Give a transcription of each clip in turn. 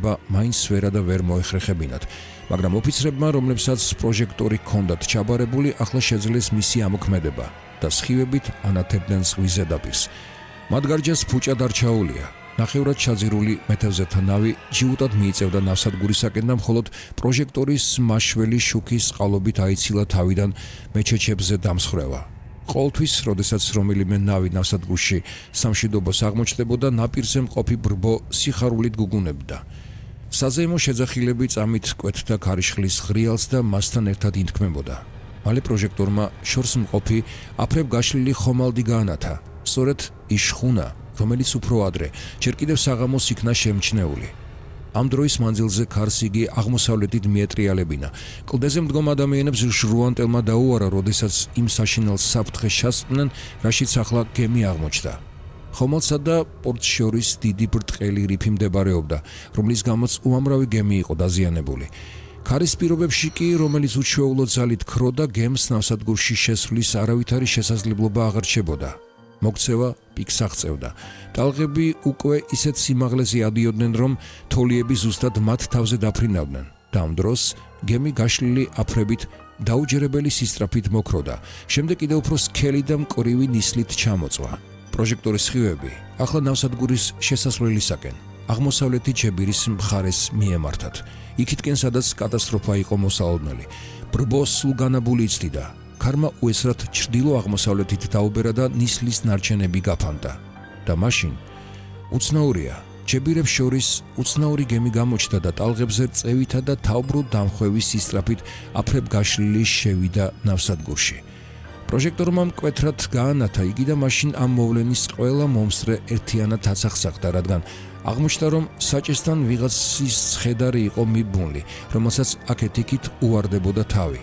მიღება მაინც ვერა და ვერ მოეხერხებინათ, მაგრამ ოფიცრებმა, რომლებსაც პროჟექტორი ჰქონდათ ჩაბარებული, ახლა შეძლეს მისი ამოქმედება და სხივებით ანათებდნენ ზღვის ზედაპირს. მათ გარჯას ფუჭად არ ჩაუვლია. ნახევრად ჩაძირული მეთევზეთა ნავი ჯიუტად მიიწევდა ნავსადგურისაკენ და მხოლოდ პროჟექტორის მაშველი შუქის წყალობით აიცილა თავიდან მეჩეჩებზე დამსხრევა. ყოველთვის, როდესაც რომელიმე ნავი ნავსადგურში სამშვიდობოს აღმოჩნდებოდა, ნაპირზე მყოფი ბრბო სიხარულით გუგუნებდა. საზეიმო შეძახილები წამით კვეთდა ქარიშხლის ღრიალს და მასთან ერთად ინთქმებოდა. მალე პროჟექტორმა შორს მყოფი აფრებ გაშლილი ხომალდი გაანათა, სწორედ ის შხუნა, რომელიც უფრო ადრე ჯერ კიდევ საღამოს იქნა შემჩნეული. ამ დროის მანძილზე ქარს იგი აღმოსავლეთით მიეტრიალებინა. კლდეზე მდგომ ადამიანებს ჟრუანტელმა დაუარა, როდესაც იმ საშინელ საფრთხეს ჩასწდნენ, რაშიც ახლა გემი აღმოჩნდა. ხომალდსა და პორტს შორის დიდი ბრტყელი რიფი მდებარეობდა, რომლის გამოც უამრავი გემი იყო დაზიანებული. ქარის პირობებში კი, რომელიც უჩვეულო ძალით ქროდა, გემს ნავსადგურში შესვლის არავითარი შესაძლებლობა აღარ რჩებოდა. მოგცევა პიკს აღწევდა. ტალღები უკვე ისეთ სიმაღლეზე ადიოდნენ, რომ თოლიები ზუსტად მათ თავზე დაფრინავდნენ. და ამ დროს გემი გაშლილი აფრებით დაუჯერებელი სისწრაფით მოქროდა. შემდეგ კიდევ უფრო სქელი და მკვრივი ნისლით ჩამოწვა. პროჟექტორის სხივები ახლა ნავსადგურის შესასვლელისაკენ, აღმოსავლეთი ჯებირის მხარეს მიემართათ. იქითკენ, სადაც კატასტროფა იყო მოსალოდნელი. ბრბო სულ განაბული იცდიდა. ქარმა უესრად ჩრდილო-აღმოსავლეთით დაუბერა და ნისლის ნარჩენები გაფანტა. და მაშინ უცნაურია, ჯებირებს შორის უცნაური გემი გამოჩნდა და ტალღებზე წევითა და თავბრუ დამხვევის სისწრაფით აფრებ გაშლილი შევიდა ნავსადგურში. პროჟექტორმა მკვეთრად გაანათა იგი და მაშინ ამ მოვლენის ყველა მომსწრე ერთიანად აცახსახდა, რადგან აღმოჩნდა, რომ საჭესთან ვიღაცის ცხედარი იყო მიბმული, რომელსაც აქეთ-იქით უვარდებოდა თავი.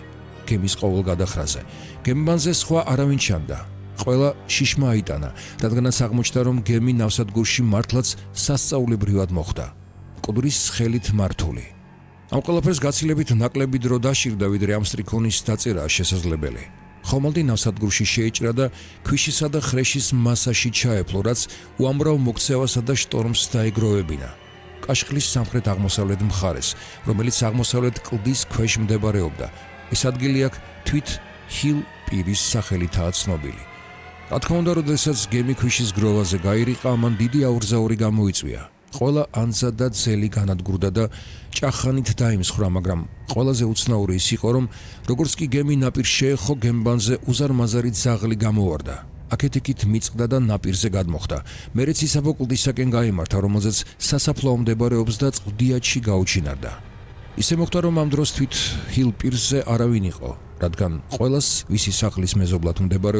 გემის ყოველ გადახრაზე. გემბანზე სხვა არავინ ჩანდა. ყველა შიშმა აიტანა, რადგანაც აღმოჩნდა, რომ გემი ნავსადგურში მართლაც სასწაულებრივად მოხვდა. მკვდრის ხელით მართული. ამ ყველაფერს გაცილებით ნაკლები დრო დაშირდა, ვიდრე ამ სტრიქონის დაწერა შესაძლებელი. ხომალდი ნავსადგურში შეიჭრა და ქვიშისა და ხრეშის მასაში ჩაეფლო, რაც უამრავ მოქცევასა და შტორმს დაეგროვებინა. კაშხლის სამხრეთ-აღმოსავლეთ მხარეს, რომელიც აღმოსავლეთ კლდის ქვეშ მდებარეობდა. ეს ადგილი აქ თვით ჰილ პირის სახელითაა ცნობილი. რა თქმა უნდა, როდესაც გემი ქვიშის გროვაზე გაირიყა, ამან დიდი აურზაური გამოიწვია. ყველა ანძა და ძელი განადგურდა და ჭახანით დაიმსხვრა, მაგრამ ყველაზე უცნაური ის იყო, რომ როგორც კი გემი ნაპირს შეეხო, გემბანზე უზარმაზარი ძაღლი გამოვარდა. აქეთ-იქით მიწყდა და ნაპირზე გადმოხდა. მერეც ისაბო კლდისაკენ გაიმართა, რომელზეც სასაფლაო მდებარეობს და წყდიაჩი გაუჩინარდა. ისე მოხდა, რომ ამ დროს თვით ჰილ პირზე არავინ იყო, რადგან ყველას, ვისი სახლის მეზობლად მდებარეობდა